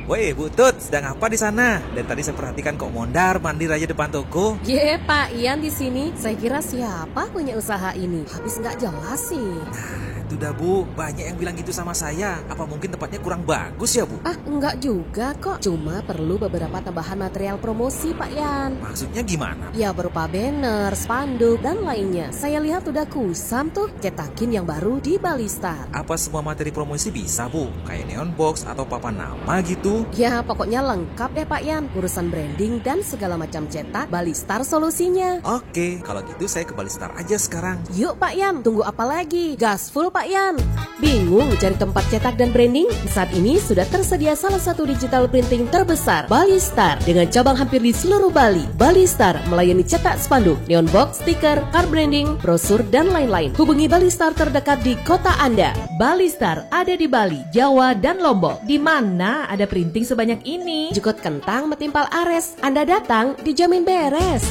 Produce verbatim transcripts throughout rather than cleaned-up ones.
Woi, Bu Tut, sedang apa di sana? Dari tadi saya perhatikan kok mondar mandir aja depan toko. Ye, Pak Ian di sini. Saya kira siapa punya usaha ini? Habis nggak jelas sih. Nah, itu dah, Bu, banyak yang bilang gitu sama saya. Apa mungkin tempatnya kurang bagus ya, Bu? Ah, enggak juga kok. Cuma perlu beberapa tambahan material promosi, Pak Ian. Maksudnya gimana? Ya, berupa banner, spanduk, dan lainnya. Saya lihat udah kusam tuh. Cetakin yang baru di Balistar. Apa semua materi promosi bisa, Bu? Kayak neon box atau papan nama gitu? Ya, pokoknya lengkap deh, Pak Ian. Urusan branding dan segala macam cetak, Balistar solusinya. Oke, kalau gitu saya ke Balistar aja sekarang. Yuk, Pak Ian, tunggu apa lagi? Gas full, Pak Ian. Bingung cari tempat cetak dan branding? Saat ini sudah tersedia salah satu digital printing terbesar, Balistar, dengan cabang hampir di seluruh Bali. Balistar melayani cetak spanduk, neon box, stiker, card branding, brosur, dan lain-lain. Hubungi Balistar terdekat di kota Anda. Balistar ada di Bali, Jawa, dan Lombok. Di mana ada printing sebanyak ini? Jukut kentang metimpal ares. Anda datang, dijamin beres.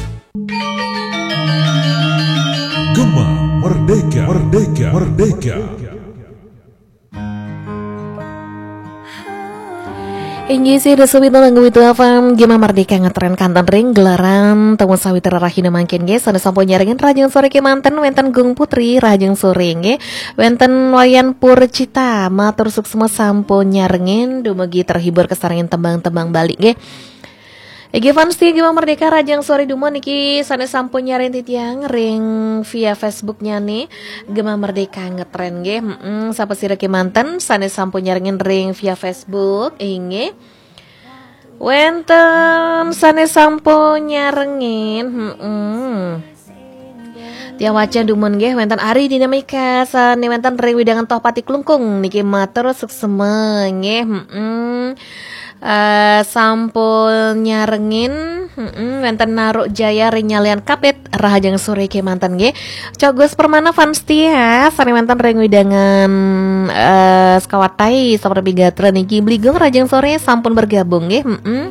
Gema Merdeka, Merdeka, Merdeka. Inggih sih, Desa Wito Nanggu Wito F M, Gema Merdeka ngetren kanten ring gelaran Temu Sawitra Rahina mangkin nggih, sané sampun nyarengin rahajeng soré kémanten, wénten Gung Putri rahajeng soré nggih, wénten Wayan Purcita, matur suksma sampun nyarengin, dumugi terhibur kasarengin tembang-tembang Bali nggih. Inggih fans setia Gema Merdeka rahajeng soré dumun niki sané sampun nyarengin titiang ring via Facebook-nya nih, Gema Merdeka ngetren nggih. Heeh, sapa sira kémanten sané sampun nyarengin ring via Facebook, inggih. Wénten sané sampun nyarengin, heeh. Tiang waca dumun nggih, wénten Ari Dinamika sané wénten ring wewidangan Tohpati Klungkung niki matur suksma nggih, heeh. Eh, sampun nyarengin, heeh, wénten Naruk Jaya ring Nyalian Kapit, rahajeng soré kémanten nggih. Cok Gus Permana fans setia, sané wénten ring wewidangan, eh, Sekawatai, Saprapi Gatra niki Bligong rahajeng soré sampun bergabung nggih. Heeh.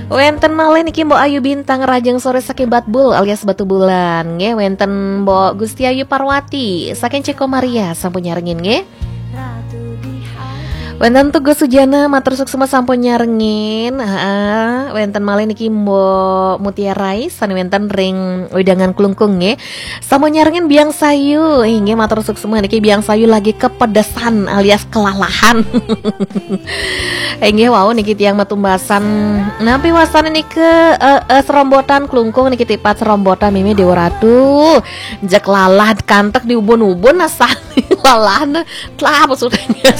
Wénten malih niki Mbok Ayu Bintang rahajeng soré saking Batbul alias Batubulan nggih. Wénten Mbok Gusti Ayu Parwati saking Ceko Maria sampun nyarengin nggih. Wénten Tugas Sujana, matur suksma sampun nyarengin. Heeh, wénten malih niki Mbok Mutiara Rai, sané wénten ring wewidangan Klungkung nggih. Sampun nyarengin Biang Sayu, inggih matur suksma niki Biang Sayu lagi kepedesan alias kelalahan. Inggih wau niki tiang matumbasan. Napi wastané niki, eh, eh, serombotan Klungkung niki tipat serombotan Mimi Dewa Ratu. Jek lalah kantek di ubun-ubun asal lalah. Telah apa sutenya.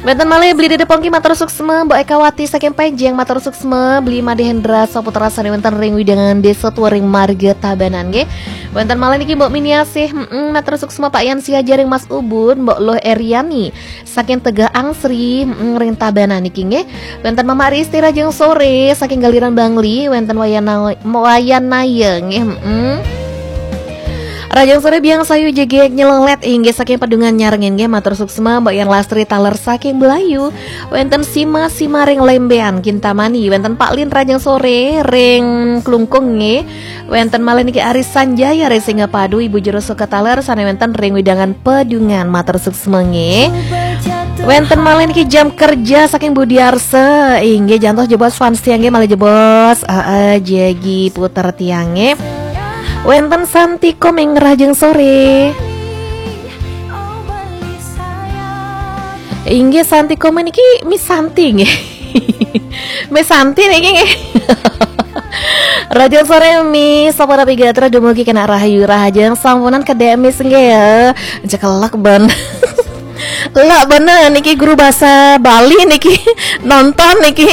Wénten malih Beli Dede Pongki matur suksma, Mbok Ekawati saking Penjeng matur suksma, Beli Made Hendra Saputra sané wénten ring wewidangan Desa Tuwering Marga Tabanan nggih. Wénten malih niki Mbok Miniasih, heeh, matur suksma Pak Yan Siaja ring Mas Ubun, Mbok Luh Eriani saking Tegah Angsri, heeh, ring Tabanan niki nggih. Wénten Mama Risti rahajeng soré saking Galiran Bangli, wénten Wayana-, Wayanaya nggih, heeh. Rahajeng soré Biang Sayu jegég nyelonglét inggih saking Pedungan nyarengin nggih, matur suksma Mbok Yan Lastri taler saking Belayu. Wénten Sima, Sima ring Lembean Kintamani, wénten Pak Lin rahajeng soré ring Klungkung nggih. Wénten malih niki Ari Sanjaya ring Singapadu, Ibu Juru Suka taler sané wénten ring wewidangan Pedungan matur suksma nggih. Wénten malih niki Jam Kerja saking Budi Arsa, inggih jantos jebos fans tiang nggih malih jebos. Heeh, jagi puter tiang nggih. Wénten Santi Komeng rahajeng soré. Inggih Santi Komeng niki Miss Santi nggih. Miss Santi niki nggih. Rahajeng soré Miss, sapunapi gatra dumugi kenak rahayu rahajeng sampunang kedék Miss nggih ya. Cekelek ben. Lah bener niki guru bahasa Bali niki nonton niki.